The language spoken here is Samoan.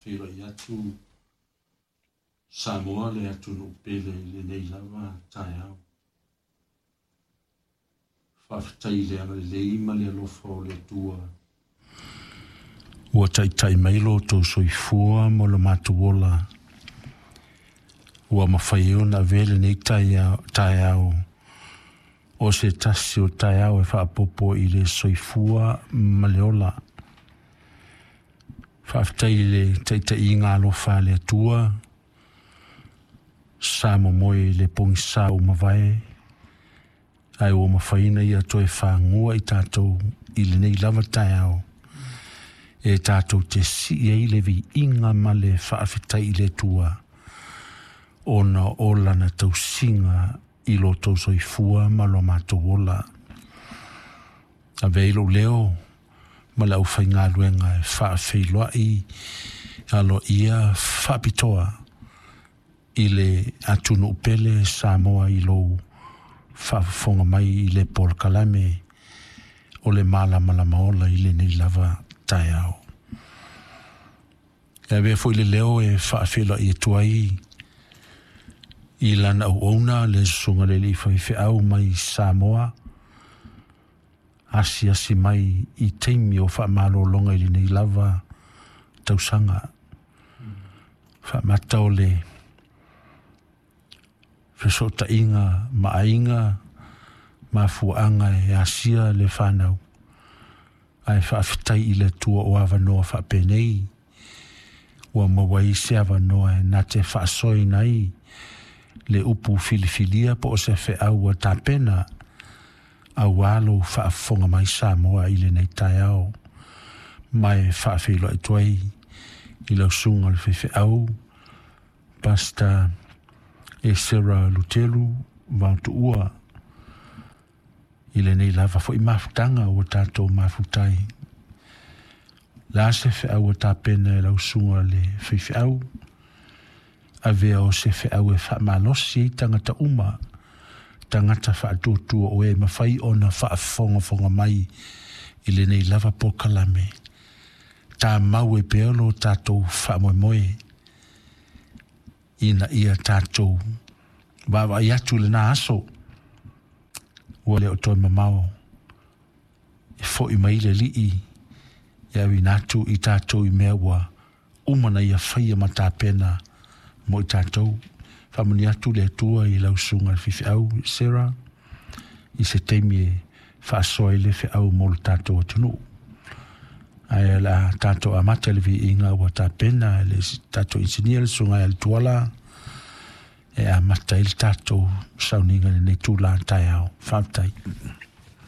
Feiloai atu Samoa le atunuu pele i lenei lava taeao. Faafetai i le agalelei ma le alofa o le Atua ua taitai mai lo outou soifua ma lo matou ola ua mafai ai ona avea lenei taeao o se tasi o taeao e faaopoopo i le soifua ma le ola. Faafetai i le taitaiga alofa a le Atua sa momoe i le pogisa ua mavae, ae ua mafai ona ia toe fagua i tatou i lenei lava taeao e tatou te sii ai le viiga ma le faafetai i le Atua ona o lana tausiga i lo outou soifua ma lo matou ola. Ave ai lou leo ma le aufaigaluega e faafeiloai aloaia faapitoa i le atunuu pele Samoa i lou faafofoga mai i le polokalame o le Malamalama Ola i lenei lava taeao. E avea foi le leo e faafeiloai atu ai i lana auauna le susuga le alii faifeau mai Samoa, asiasi mai i taimi o faamalologa i lenei lava tausaga. Faamata o le fesootaiga ma aiga mafuaaga e asia le fanau, ae faafetai i le Atua o avanoa faapenei ua maua ai se avanoa e na te faasoaina ai le upu filifilia po o se feau ua tapena auā lou faafofoga mai Samoa i lenei taeao. Ma e faafeiloai atu ai i lau susuga le faifeau Pastor Esera Lutelu Vaotuua i lenei lava foi mafutaga ua tatou mafuta ai. La se feau ua tapena e lau susuga le faifeau, avea o se feau e faamalosi ai tagata uma, tagata faatuatua o e mafai ona faafogafoga mai i lenei lava polokalame. Tamau e pea lo tatou faamoemoe ina ia tatou vaavaai atu i lena aso ua le o toe mamao e fo'i mai le Alii e auina atu i tatou i mea ua uma na ia faia ma tapena mo i tatou. Faamanuia atu le Atua i lau susuga i le faifeau Sarah i se taimi e faasoa ai le feau mo le tatou atunuu. Ae o le a tatou amata i le viiga ua tapena e le tatou inisinia le susuga ia Tuala e amata ai le tatou sauniga i lenei itula taeao. Faafetai.